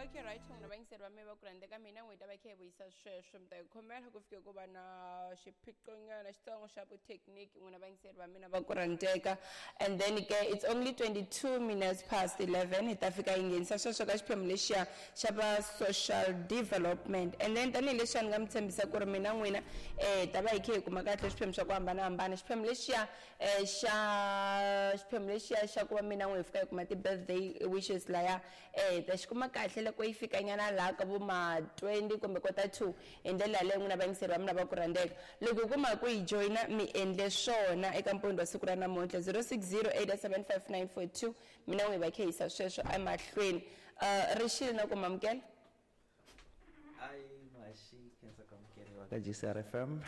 Okay, right, n'wina vayingiseri va me va ku rhandza ka mina, n'wi ta va kha hi vuyisa sweswo. Mi ta hi khomela ku fike ku va na xiphiqonyana xitsongo xa vuthekiniki, n'wina vayingiseri va mina va ku rhandzeka. And then ke it's only 22 minutes past 11, hi ta fika hi nghenisa sweswo ka xiphemu lexiya xa va social development. And then tanihileswi a ni nga mi tshembisa ku ri mina n'wina ta va hi kha hi kuma kahle swiphemu swa ku hambanahambana, xiphemu lexiya xa xiphemu lexiya xa ku va mina n'wi hi fika hi kuma ti-birthday wishes laya, ta xi kuma kahle loko yi fika nyana laha ka vo ma 20 kumbe kota 2. Hi ndlela yaleyo, n'wina vayingiseri va mina va ku rhandzeka, loko hi kuma ku yi joyina, mi endle swona eka mpundzu wa siku ra namuntlha, 060 875 942. Mina n'wi hi va khe yisa sweswo emahlweni. Rixile na ku mamukela. Ayi maxi khensa ku amukeriwa ka GCR FM.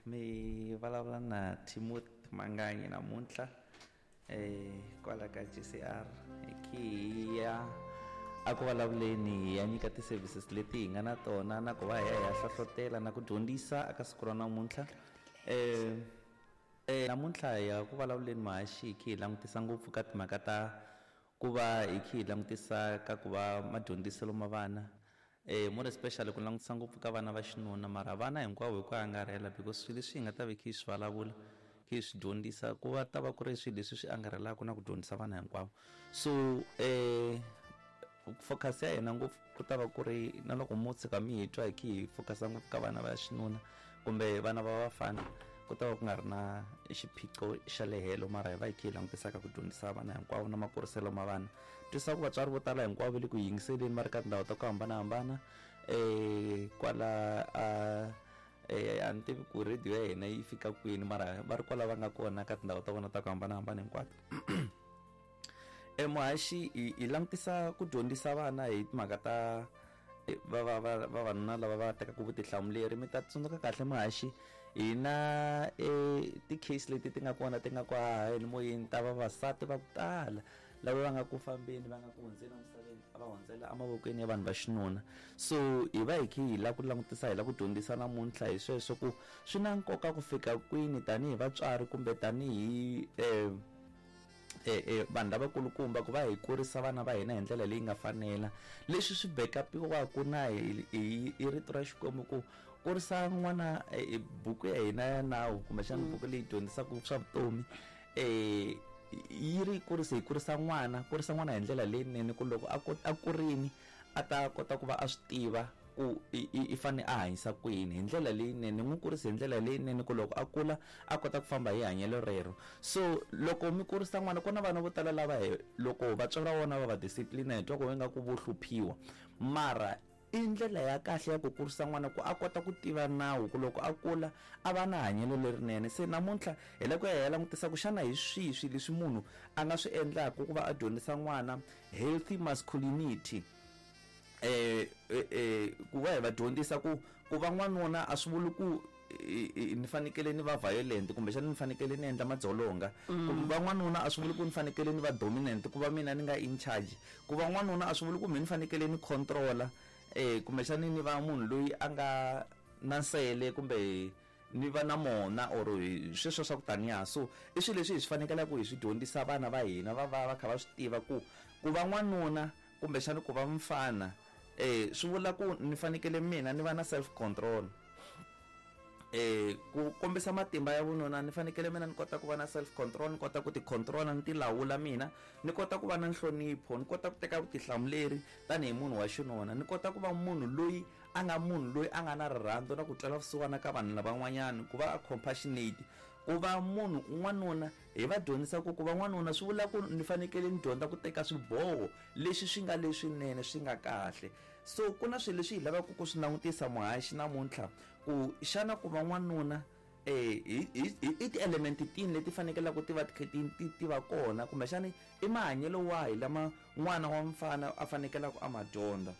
Mi vulavula na Timothy Manganyi namuntlha kwala ka GCR. Hi khi hi ya a ku vulavuleni, hi ya nyika ti-services leti hi nga na tona na ku va hi ya hi ya hlohlotela na ku dyondzisa eka siku ra namuntlha. Namuntlha hi ya ku vulavuleni, muhaxi, hi kha hi langutisa ngopfu ka timhaka ta ku va hi kha hi langutisa ka ku va madyondziselo ma vana, more especially ku langutisa ngopfu ka vana va xinuna, mara vana hinkwavo hi ku angarhela, because swilo leswi hi nga ta va hi kha hi swi vulavula, kha hi swi dyondzisa, ku va ta va ku ri swilo leswi swi angarhelaka na ku dyondzisa vana hinkwavo. So focus ya hina ngopfu ku ta va ku ri na loko mo tshika mi hi twa hi kha hi focusa ngopfu ka vana va xinuna kumbe vana va vafana, ku ta va ku nga ri na xiphiqo xa le helo, mara hi va hi kha hi langutisa ka ku dyondzisa vana hinkwavo na makuriselo ma vana. Twisisa ku vatswari vo tala hinkwavo va le ku yingiseleni, va ri ka tindhawu ta ku hambanahambana kwala a a ni tivi ku radio ya hina yi fika kwini, mara va ri kwala va nga kona ka tindhawu ta vona ta ku hambanahambana hinkwato. Muhaxi, hi langutisa ku dyondzisa vana hi timhaka ta va va va vavanuna lava va tekaka vutihlamuleri. Mi ta tsundzuka kahle, muhaxi, hi na ti-case leti ti nga kona, ti nga ku haheni moyeni, ta vavasati va ku tala lava va nga ku fambeni, va nga ku hundzeni emisaveni, a va hundzela emavokweni ya vanhu va xinuna. So hi va hi kha hi lava ku langutisa, hi lava ku dyondzisa namuntlha hi sweswo, ku swi na nkoka ku fika kwini tanihi vatswari kumbe tanihi vanhu lavakulukumba ku va hi kurisa vana va hina hi ndlela leyi nga fanela, leswi swi backupiwaka na hi rito ra Xikwembu, ku kurisa n'wana. Buku ya hina ya nawu, kumbexana buku leyi dyondzisaka swa vutomi, yi ri kurise hi kurisa n'wana, kurisa n'wana hi ndlela leyinene, ku loko a kurini a ta kota ku va a swi tiva ku i fane a hanyisa ku yini hi ndlela leyinene. N'wi kurisa hi ndlela leyinene ku loko a kula a kota ku famba hi hanyelo rero. So loko mi kurisa n'wana, ku na vana vo tala lava hi loko vatswari va vona va va discipline, hi twa ku ingaku vo hluphiwa, mara i ndlela ya kahle ya ku kurisa n'wana ku a kota ku tiva nawu, ku loko a kula a va na hanyelo lerinene. Se namuntlha hi lava ku ya hi ya langutisa ku xana hi swihi swilo leswi munhu a nga swi endlaka ku va a dyondzisa n'wana healthy masculinity, ku va hi va dyondzisa ku ku va n'wanuna a swi vuli ku ni fanekele ni va violent, kumbexana ni fanekele ni endla madzolonga. Ku va n'wanuna a swi vuli ku ni fanekele ni va dominant, ku va mina ni nga in charge. Ku va n'wanuna a swi vuli ku mina ni fanekele ni controla, kumbexana ni va munhu loyi a nga na nsele kumbe ni va na mona or sweswo swa ku taniya. So i swilo leswi hi swi fanekelaka hi swi dyondzisa vana va hina, va va va kha va swi tiva ku ku va n'wanuna kumbexana ku va mfana swi vula ku ni fanekele mina ni va na self control. Ku kombisa matimba ya vununa, ni fanekele mina ni kota ku va na self control, ni kota ku ti controla, ni ti lawula mina, ni kota ku va na nhlonipho, ni kota ku teka vutihlamuleri tanihi munhu wa xinuna, ni kota ku va munhu loyi a nga munhu loyi a nga na rirhandzu na ku twela vusiwana ka vanhu lavan'wanyana, ku va a compassionate. Ku va munhu n'wanuna, hi va dyondzisa ku ku va n'wanuna swi vula ku ni fanekele ni dyondza ku teka swiboho leswi swi nga leswinene, swi nga kahle. So ku na swilo leswi hi lavaka ku swi langutisa, muhaxi, namuntlha, ku xana ku va n'wanuna hi ti-element tini leti fanekelaka ti va ti ti va kona, kumbexani i mahanyelo wahi lama n'wana wa mfana a fanekelaka a ma dyondza.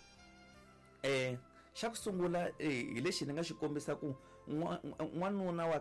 Xa ku sungula hi lexi ni nga xi kombisa ku n'wanuna wa